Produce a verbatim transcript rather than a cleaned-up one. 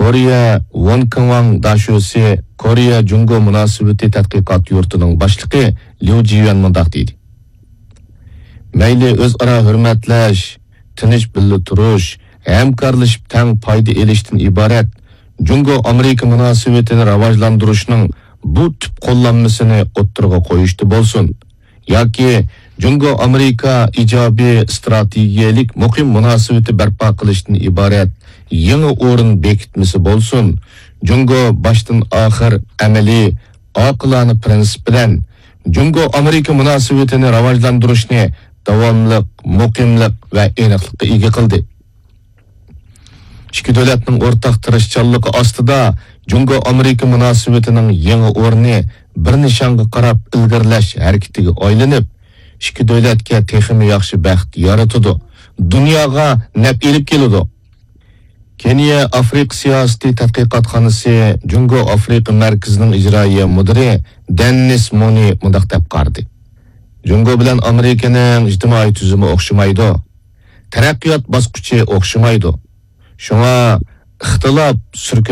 كورېيە ۋونكېڭۋاڭ داشۆسى، كورېيە جۇڭگو مۇناسىۋىتى تەتقىقات يۇرتىنىڭ باشلىقى ليۇ جىيۈەن مۇنداق دېدى: مەيلى ئۆزئارا ھۆرمەتلەش، تىنچ بىللە تۇرۇش، ھەمكارلىشىپ تەڭ پايدا ئېلىشتىن ئىبارەت جۇڭگو ئامېرىكا مۇناسىۋىتىنى راۋاجلاندۇرۇشنىڭ بۇ تۈپ قوللانمىسىنى ئوتتۇرىغا قويۇشتا بولسۇن، ياكى جۇڭگو ئامېرىكا ئىجابىي ئىستراتېگىيەلىك مۇقىم مۇناسىۋىتى بەرپا قىلىشتىن ئىبارەت يېڭى ئورۇن بېكىتمىسى بولسۇن، جۇڭگو باشتىن ئاخىر ئەمەلىي، ئاقىلانە پىرىنسىپ بىلەن جۇڭگو ئامېرىكا مۇناسىۋىتىنى راۋاجلاندۇرۇشنى داۋاملىق، مۇقىملىق ۋە ئېنىقلىققا ئىگە قىلدى. ئىككى دۆلەتنىڭ ئورتاق تىرىشچانلىقى ئاستىدا جۇڭگو ئامېرىكا مۇناسىۋىتىنىڭ يېڭى ئورنى بىر نىشانغا قاراپ ئىلگىرىلەش ھەرىكىتىگە ئايلىنىپ، ئىككى دۆلەتكە تېخىمۇ ياخشى بەخت يارىتىدۇ، دۇنياغا نەپ ئېلىپ كېلىدۇ. كېنىيە ئافرىقا سىياسىتى تەتقىقاتخانىسى جۇڭگو ئافرىقا مەركىزىنىڭ ئىجرائىيە مۇدىرى دېننىس مونى مۇنداق دەپ قارىدى: جۇڭگو بىلەن ئامېرىكىنىڭ ئىجتىمائىي تۈزۈمى ئوخشىمايدۇ، تەرەققىيات باسقۇچى ئوخشىمايدۇ. شۇڭا ئىختىلاپ سۈركە